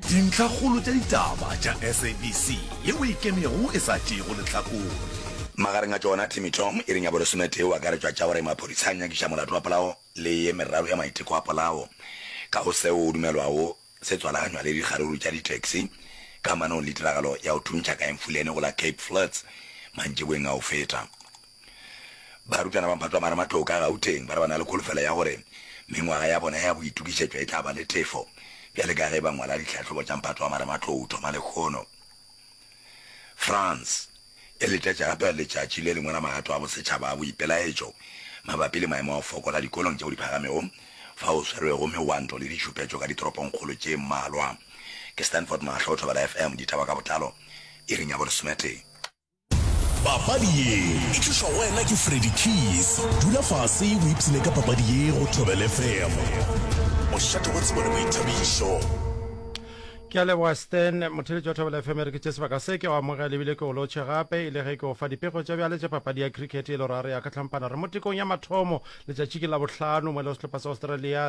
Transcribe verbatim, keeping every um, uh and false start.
Dintlhakgolo tša ditaba tša S A B C yeo e ikemego e sa tšeego lehlakore. Magareng a tšona, Timmy Tom iring ya bolesometee o akaretšwa tša gore maphodisa a nyakiša molato wa polao le ye meraro ya maiteko a polao ka go seo o dumelwago se tswalaganywa le dikgaruru tša di-taxi kamanong le tiragalo ya go thuntšha ka Emfuleni go la Cape Flats mantšiboeng a go feta. Barutwana ba mphato wa marematlou ka Gauteng ba re ba na le kholofelo ya gore mengwaga ya bona ya boitokišetšo e tla ba le tefo bjale ka ge ba ngwala ditlhahlobo tša mphato wa marematlou thoma lekgono. France e letetše gape letšatši le lengwe la magato a bosetšhaba a boipelaetšo mabapi le maemo a go fokola dikolong tšeo di phagamego fao swerwego megwanto le ditšhupetšo ka ditoropongkgolo tše mmalwa. Ke Stanford Mahlo, Thobela F M, ditaba ka botlalo iring ya bolesometee. Papadi ye e tlišwa go wena ke Freddy Keys. Dula fase o ipshine ka papadi ye go Thobela F M. Mošate wa tsebo le boithabišo. Ke a leboga Stan, motheeletši wa Thobela F M, re ke tše sebaka se ke go amogela ebile ke o lotšhe gape e le ge ke o fa dipego tša bjale tša papadi ya cricket e le gore a re ya ka hlampana re mo tekong ya mathomo letšatši ke la bohlano mo e le sehlopha sa Australia.